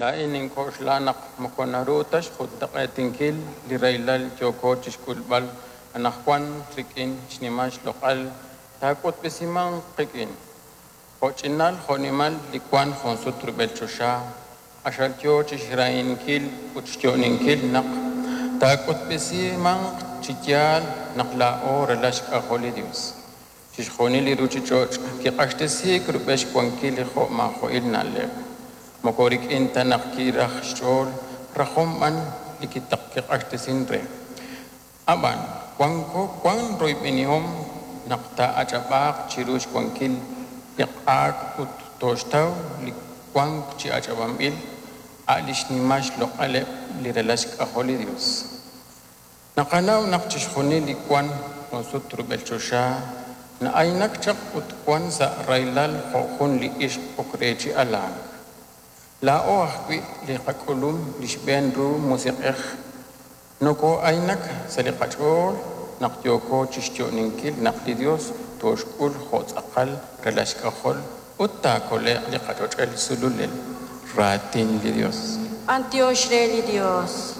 Laa'in nink'oxla naq moko naru ta xjuntaq'eetinkil li rahilal yooko chi xk'ulb'al anaqwan rik'in xnimal xloq'al taak'utb'esimanq qik'in. Jo'ch'inal jo'nimal li wank junsut rub'el choxa q'axal yo chi xrahinkil ut xyo'oninkil naq taak'utb'esimanq chi yaal naq laa'o ralal xk'ajol li Yos. Chixjunil li ruuchich'och' kiq'axtesiik rub'el xwankil li jo'maajo'il na'leb'. Moko rik'in ta naq kiraj xch'ool, rajom b'an li kiq'axtesink re. Ab'an wanko wank royb'enihom naq taa'ach'ab'aaq chiru xwankil li q'aak ut tooxtaw li wank chi ach'ab'anb'il, a' li xnimal xloq'aleb' li ralal xk'ajol li Yos. Naqanaw naq chixjunil li wank junsut rub'el choxa na'aynak chaq ut wank sa' rahilal jo' jun li ixq ok re chi alank. Laa'o ajwi' li qak'ulum li xb'een ru Musiq'ej nokoo'aynak sa' li qach'ool naq yooko chi xyo'oninkil naq li Yos tooxk'ul jo' tz'aqal ralal xk'ajol ut taakole'q li qach'och'el sululel. Raatin li Yos. B'antiox re li Dios.